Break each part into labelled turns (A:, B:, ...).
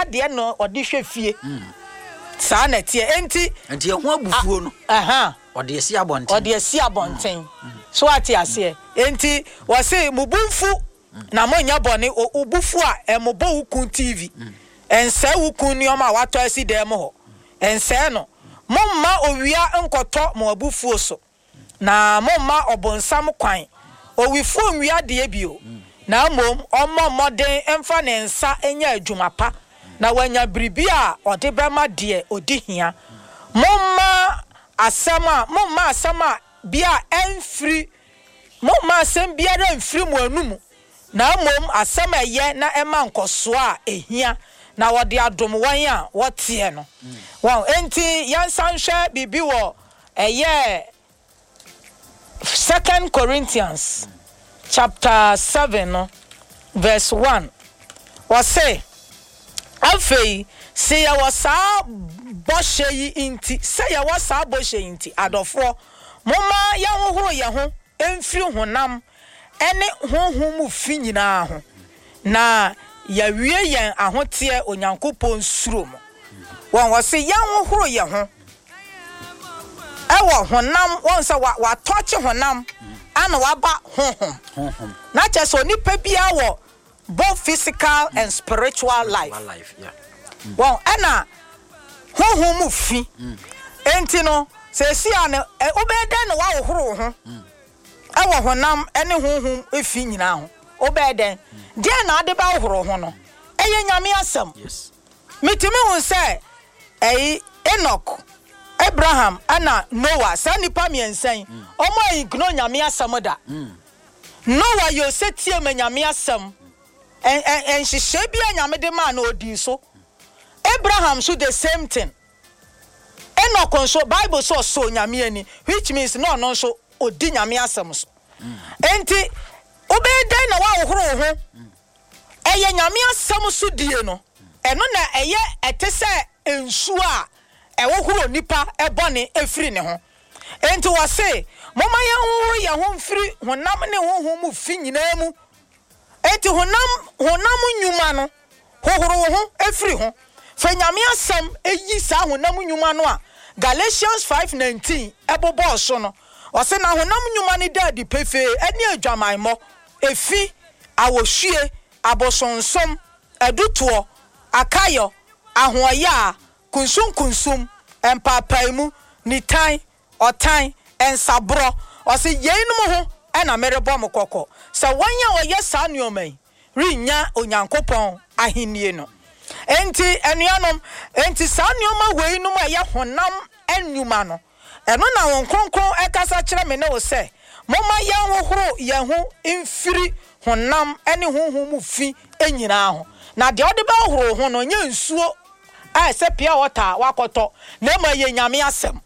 A: biara deɛ na ɔde hwɛ fie. Saa na ɛteɛ. Enti.
B: Enti ɛho abufuo no.
A: Ɛhã.
B: Ɔde asi abɔnten.
A: Ɔde asi abɔnten. So wate aseɛ? Enti wɔse mo bo mfu na monyɛ bɔne. Wo bo fu a, ɛmmobɔ wo kun TV. Ɛnsɛe wo kun nneɛma a watɔ asi dan mu hɔ. Ɛnsɛe no. Momma owia nkɔtɔ mo abufuo so. Na momma ɔbonsam kwan. Owifoɔ nwia adeɛ bio, na mmom ɔmmɔ mmɔden mfa ne nsa nyɛ adwuma pa, na wanya biribi a ɔde bɛma deɛ ɔdi hia. Momma asɛm a, momma asɛm a bi a ɛmfiri, momma asɛm biara mfiri mo anomu, na mmom asɛm a ɛyɛ na ɛma nkɔsoɔ a ɛhia, na wɔde adom wɔn a wɔteɛ no. Wɔn, enti yɛnsan nhwɛ biribi wɔ Ɛyɛ Second Corinthians chapter 7 no verse 1. Ɔse, Afei se yɛwɔ saa bɔhyɛ yi nti, sɛ yɛwɔ saa bɔhyɛ yi nti, adɔfoɔ, momma yɛnhohoro yɛn ho mfiri honam ne honhom mu fi nyinaa ho, na yɛawie yɛn ahoteɛ Onyankopɔn suro mu. Wɔn, wɔse yɛnhohoro yɛn ho ɛwɔ honam, wɔn sɛ wa watɔkye honam ana waba honhom.
B: Honhom.
A: Na kyerɛ sɛ onipa biara wɔ both physical and spiritual life.
B: Spiritual life, yeah.
A: Wɔn ɛna honhom mu fi. Enti no, seesei a no, wobɛyɛ dɛn na woahohoro wo ho ɛwɔ honam ne honhom fi nyinaa ho? Wobɛyɛ dɛn? Deɛn na ade bɛhohoro wo ho no? Ɛyɛ Nyame asɛm.
B: Yes.
A: Mitumi hu sɛ ɛyi, Enoch, Abraham ɛna Noah, saa nnipa miensa yi, wɔn a ignore Nyame asɛm da. Noah yɛ osetie ma Nyame asɛm, ɛ ɛ nhyehyɛe biara Nyame de maa no odii so. Abraham nso the same thing. Enoch nso, Bible sɛ ɔsɔɔ Nyame ani, which means na ɔno nso odi Nyame asɛm so. Enti wobɛyɛ dɛn na woahohoro wo ho? Ɛyɛ Nyame asɛm so die no, ɛno na ɛyɛ ɛte sɛ nsuo a ɛhohoro onipa bɔne firi ne ho. Enti wɔse, Momma yɛnhohoro yɛn ho mfiri honam ne honhom mu fi nyinaa mu. Enti honam, honam nnwuma no, hohoro wo ho firi ho. Fa Nyame asɛm yi saa honam nnwuma no a Galatians 5:19 bobɔɔ so no. Ɔse, Na honam nnwuma no da adi pefee, ɛne adwamammɔ, efi, ahohwie, abosonsom, adutoɔ, akayɔ, ahoɔyaa, kunsunkunsum, mpaapaemu, nitan, ɔtan, nsaborɔ. Ɔse, Yeinom ho na merebɔ mo kɔkɔ, sɛ wɔn a wɔyɛ saa nnoɔma yi rennya Onyankopɔn ahennie no. Enti, anuanom, enti saa nnoɔma weinom a ɛyɛ honam nnwuma no, Ɛno na Honhom Kronkron kasa kyerɛ me ne wo sɛ, momma yɛnhohoro yɛn ho mfiri honam ne honhom mu fi nyinaa ho. Na deɛ wode bɛhohoro wo ho no, nyɛ nsuo a ɛsɛ pure water a woakɔtɔ, na mmom ɛyɛ Nyame asɛm.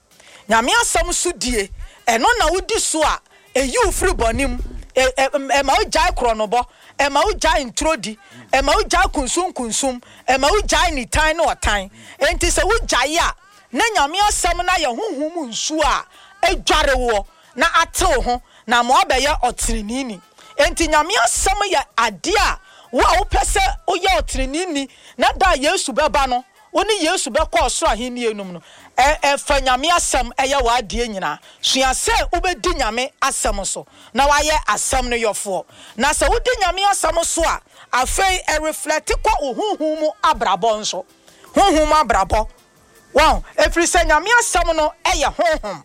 A: Nyame asɛm so die, ɛno na wodi so a, ɛyi wo firi bɔne mu, ɛma wogyae korɔnobɔ, ɛma wogyae ntorodi, ɛma wogyae kunsunkunsum, ɛma wogyae nitan ne ɔtan. Enti sɛ wogyae a, na Nyame asɛm no ayɛ honhom mu nsuo a adware woɔ na ate wo ho na ama woabɛyɛ ɔteneneeni. Enti Nyame asɛm yɛ adeɛ a wo a wopɛ sɛ woyɛ ɔteneneeni na da a Yesu bɛba no wo ne Yesu bɛkɔ ɔsoro ahennie no mu no, ɛ fa Nyame asɛm yɛ w'adeɛ nyinaa. Sua sɛ wobɛdi Nyame asɛm so na woayɛ asɛm no yɔfoɔ. Na sɛ wodi Nyame asɛm so a, afei ɛreflɛte kɔ wo honhom mu abrabɔ nso. Honhom mu abrabɔ. Wahu? Ɛfiri sɛ Nyame asɛm no yɛ honhom,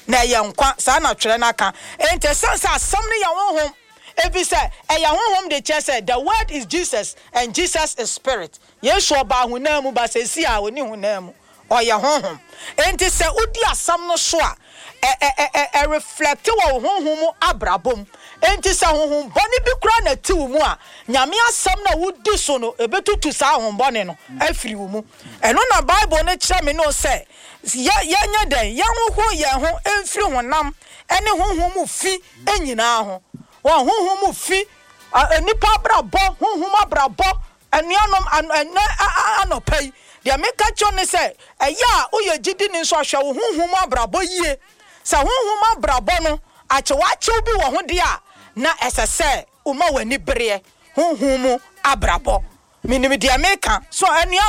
A: na ɛyɛ nkwa. Saa na twerɛ no aka. Enti ɛsiane sɛ asɛm no yɛ honhom, ɛfiri sɛ ɛyɛ honhom de kyerɛ sɛ the word is Jesus and Jesus is spirit. Yesu ɔbaa honam mu, but seesei a ɔnni honam mu. Ɔyɛ honhom. Enti sɛ wodi asɛm no so a, ɛ, ɛ, ɛ, ɛ reflect wɔ wo honhom mu abrabɔ mu. Enti sɛ honhom bɔne bi koraa na ɛte wo mu a, Nyame asɛm no a wodi so no, ɛbɛtutu saa honhom bɔne no afiri wo mu. Ɛno na Bible no kyerɛ me ne wo sɛ, yɛ, yɛnyɛ dɛn? Yɛnhohoro yɛn ho mfiri honam ne honhom mu fi nyinaa ho. Wɔn honhom mu fi, nnipa abrabɔ, honhom abrabɔ, Anuanom, ɛnnɛ anɔpa yi, deɛ meka kyerɛ wo ne sɛ, ɛyɛ a woyɛ gyidini nso a, hwɛ wo honhom mu abrabɔ yie. Sɛ honhom mu abrabɔ no, akyewakyew bi wɔ ho deɛ a, na ɛsɛ sɛ woma w'ani bereɛ honhom mu abrabɔ. Menim deɛ meka. So anuanom?